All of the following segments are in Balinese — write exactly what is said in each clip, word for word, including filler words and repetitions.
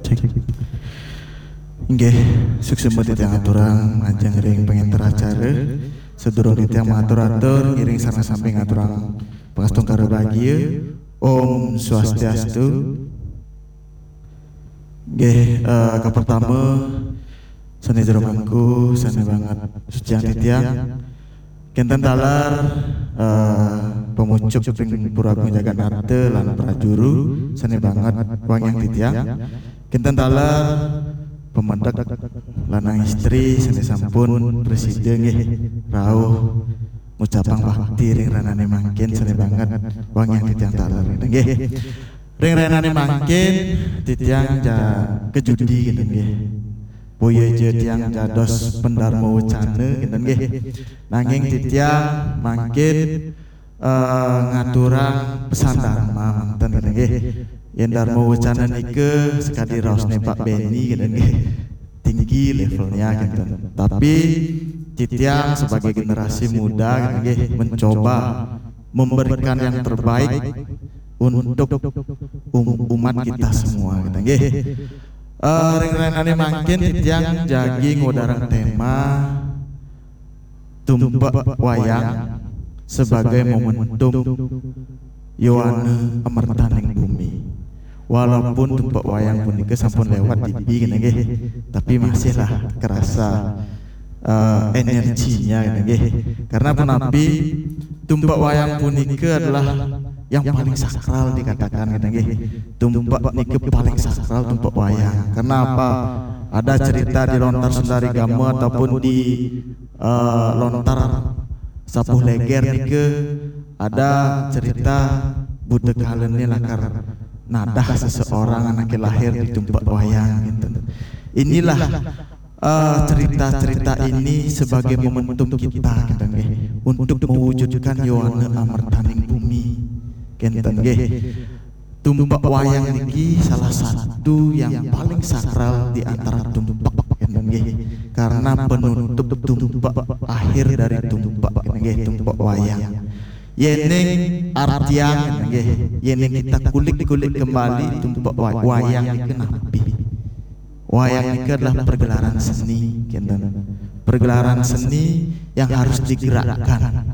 Cek. Inggih, suksma titiang aturang majeng ring pangenter acara. Sadurung titiang matur-atur, ngiring sareng sami ngaturang pangastungkara bagia. Om Swastiastu. Inggih, eh, kapertama, sane jero mangku, sane banget suciang titiang. Kenten taler, eh, pamucuk ring Pura Agung Jagat Nata lan prajuru, sane banget wangiang titiang. Kenten taler pamedek lanang istri sane sampun prasida nggih rauh ngucapang bakti ring rahinane mangkin, sane banget wangiang titiang taler nggih. Ring rahinane mangkin titiang ja kajudi kenten nggih. Boya ja tiang dados pendarma wacana kenten nggih. Nanging titiang mangkin eh, ngaturang pesan dharma manten kenten nggih. Yen dharma wacana nika sakadi raosne Pak Benny kenten nggih. Tinggi levelnya kenten. Tapi titiang sebagai generasi muda kenten nggih mencoba memberikan yang terbaik untuk um- umat kita semua kenten nggih. Eh, ring rahinane mangkin titiang jagi ngwedarang tema tumpek wayang sebagai momentum yowana amertaning bumi. Walaupun tumpek wayang punika sampun lewat dipi kenten nggih, tapi masihlah kerasa eh, energinya kenten nggih. Karena punapi, tumpek wayang punika adalah yang paling sakral dikatakan kenten nggih. Tumpek nika paling sakral tumpek wayang. Karena apa? Ada cerita di lontar Sundari Gama ataupun di eh, lontar Sapuh Leger nika ada cerita buta kalane lakar nadah seseorang anake lahir di tumpek wayang gitu. Inilah eh, cerita-cerita ini sebagai momentum kita kenten nggih untuk mewujudkan yowana amertaning bumi kenten nggih. Tumpek wayang niki salah satu yang paling sakral di antara tumpek kenten nggih. Karena penutup tumpek akhir dari tumpek kenten nggih, tumpek wayang. Yening artiang kenten nggih, yening kita kulik-kulik kembali tumpek wa- wayang niki napi? Wayang niki adalah pergelaran seni kenten. Pergelaran seni yang harus digerakkan.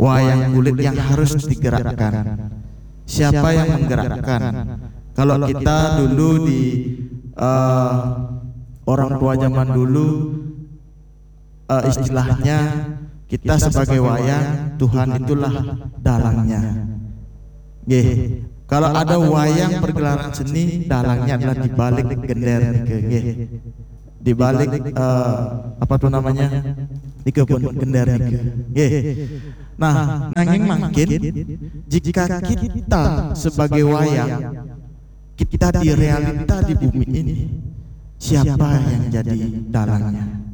Wayang kulit yang harus digerakkan. Siapa yang menggerakkan? Kalau kita dulu di eh, orang tua zaman dulu eh, istilahnya kita sebagai wayang, Tuhan itulah dalangnya. Nggih. Kalau ada wayang pergelaran seni, dalangnya adalah di balik gender nika, nggih. Di balik eh, apa tuh namanya? Di kebun gender nika. Nggih. Nah, nanging mangkin jika kita sebagai wayang, kita di realita di bumi ini, siapa yang jadi dalangnya?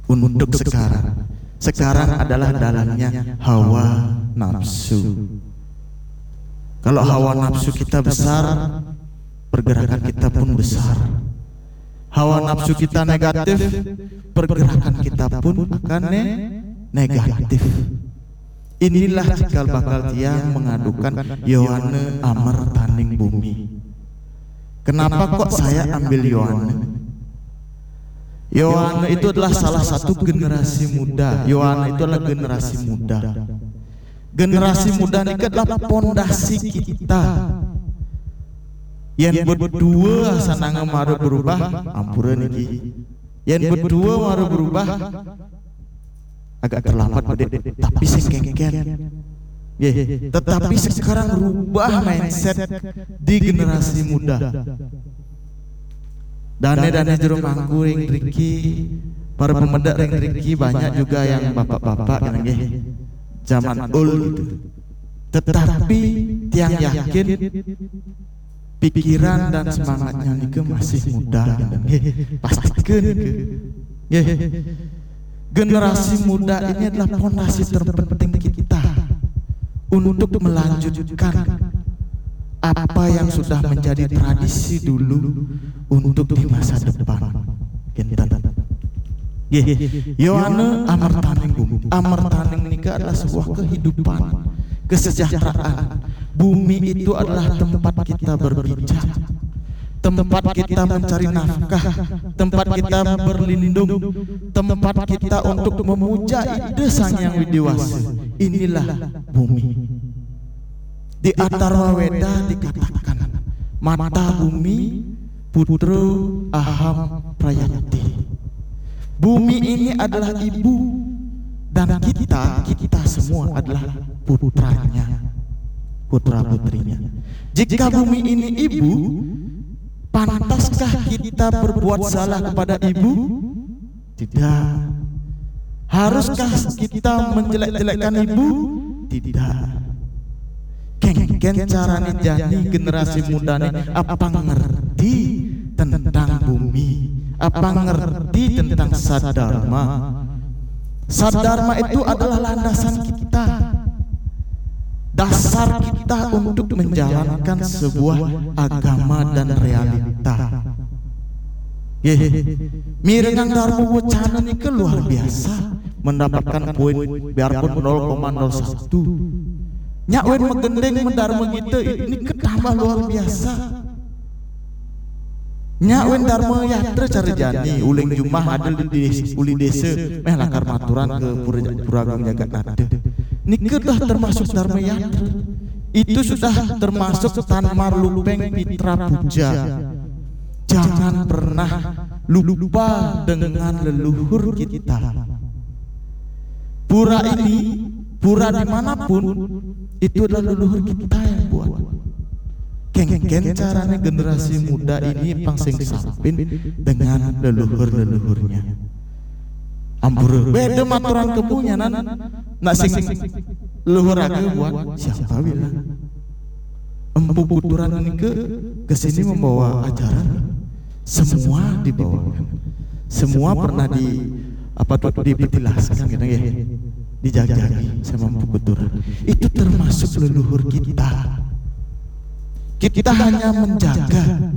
Untuk sekarang, sekarang adalah dalangnya hawa nafsu. Kalau hawa nafsu kita besar, pergerakan kita pun besar. Hawa nafsu kita negatif, pergerakan kita pun akan ne- negatif. Inilah cikal bakal tiang mengadukan yowana amertaning bumi. Kenapa kok saya ambil yowana? Yowana itu adalah salah satu generasi muda. Yowana itu adalah generasi muda. Generasi muda ini adalah pondasi kita. Yen berdua sananga mara berubah, ampura niki. Yen berdua mara berubah, agak terlambat, Bedit, tapi sing kengken. Nggih, tetapi sekarang rubah mindset di generasi muda. Dane-dane jero mangku ring driki, para pemedek ring driki banyak juga yang bapak-bapak kan nggih. Zaman old gitu. Tetapi tiang yakin pikiran dan semangatnya nika masih muda gitu. Nggih, pastika nika. Nggih. Generasi muda ini adalah pondasi terpenting kita untuk melanjutkan apa yang sudah menjadi tradisi dulu untuk di masa depan. Kinten. Nggih, yowana amertaning bumi. Amertaning nika adalah sebuah kehidupan, kesejahteraan, Bumi itu adalah tempat kita berpijak, tempat kita mencari nafkah, tempat kita berlindung, tempat kita untuk memuja Ida Sang Hyang Widhi Wasa. Inilah bumi. Di Atharwa Weda dikatakan, mata bumi putro aham prayati. Bumi ini adalah ibu, dan kita, kita semua adalah putranya, putra putrinya. Jika bumi ini ibu, pantaskah kita berbuat salah kepada ibu? Tidak. Haruskah kita menjelek-jelekkan ibu? Tidak. Kengken carane jani generasi muda ni apa ngerti tentang bumi, apa ngerti tentang sadharma. Sadharma itu adalah landasan kita, dasar kita untuk menjalankan sebuah agama dan realita. Ye, mirengang Dharma Wacana nika luar biasa, mendapatkan poin biarpun nol koma nol satu. Nyak wen megendeng mendarma kita nika tambah luar biasa. Nyak wen Dharma Yatra cara jani, uling jumah ada di des-, uli desa, meh lakar maturan ke Pura, Pura Agung Jagat Nata. Nika dah termasuk Dharma Yatra. Itu sudah termasuk tan marlupeng pitra puja. Jangan pernah lupa dengan leluhur kita. Pura ini, pura dimanapun, itu adalah leluhur kita yang buat. Kengken caranya generasi muda ini pang sing sampin dengan leluhur-leluhurnya. Ampura, beda maturan kepunyanan, nak sing leluhur aga buat siapa bilang? Empu Kuturan ini ke, ke sini membawa ajaran. Semua dibawakan. Semua pernah di apa tuh dipetilaskan gitu ya. Dijajaki sama Empu Kuturan. Itu termasuk leluhur kita. Kita hanya menjaga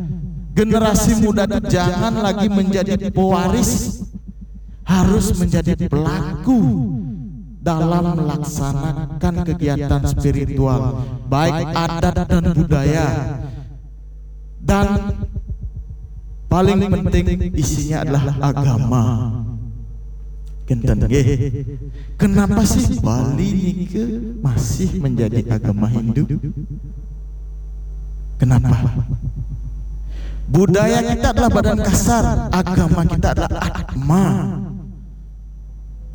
generasi muda itu jangan lagi menjadi pewaris, harus menjadi pelaku dalam melaksanakan kegiatan spiritual, baik adat dan budaya. Dan paling penting isinya adalah agama. Kenten nggih. Kenapa sih Bali nike masih menjadi agama Hindu? Kenapa? Budaya kita adalah badan kasar, agama kita adalah atma.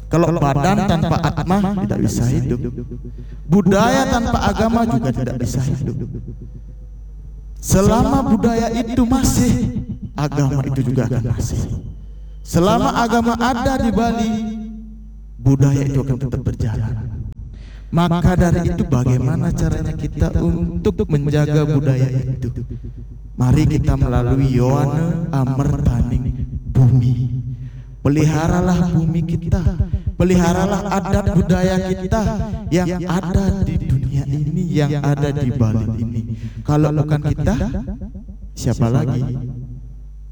Kalau badan tanpa atma tidak bisa hidup. Budaya tanpa agama juga tidak bisa hidup. Selama budaya itu masih, agama itu juga akan masih. Selama agama ada di Bali, budaya itu akan tetap berjalan. Maka dari itu, bagaimana caranya kita untuk menjaga budaya itu? Mari kita melalui Yowana Amertaning Bumi. Peliharalah bumi kita, peliharalah adat budaya kita yang ada di dunia ini, yang ada di Bali ini. Kalau bukan kita, siapa lagi?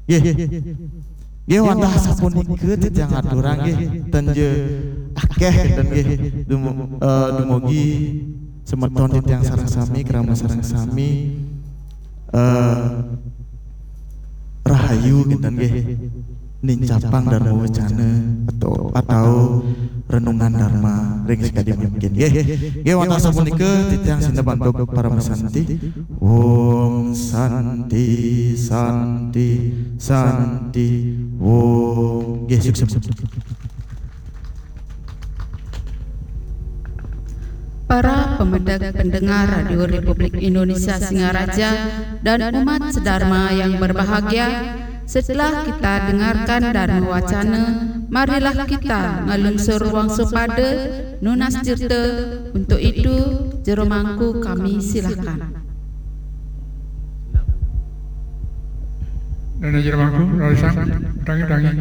Nggih. Nggih, wantah sapunika titiang aturang nggih, ten ja akeh kinten nggih. Dumo-, eh, dumugi semeton titiang sareng sami, krama sareng sami, eh, rahayu kinten nggih. Nincapang Dharma Wacana atau, atau renungan Dharma ring sakadi mangkin nggih. Nggih, wantah sapunika titiang sineb antuk paramasanti. Om Santi, Santi, Santi, Om. Nggih, sukses. Para pemedek pendengar Radio Republik Indonesia Singaraja dan umat sedharma yang berbahagia, setelah kita dengarkan Dharma Wacana, marilah kita ngalungsur wangsupada nunas tirta. Untuk itu, Jero Mangku kami silahkan. Dana Jero Mangku, rarisang, tangi-tangi.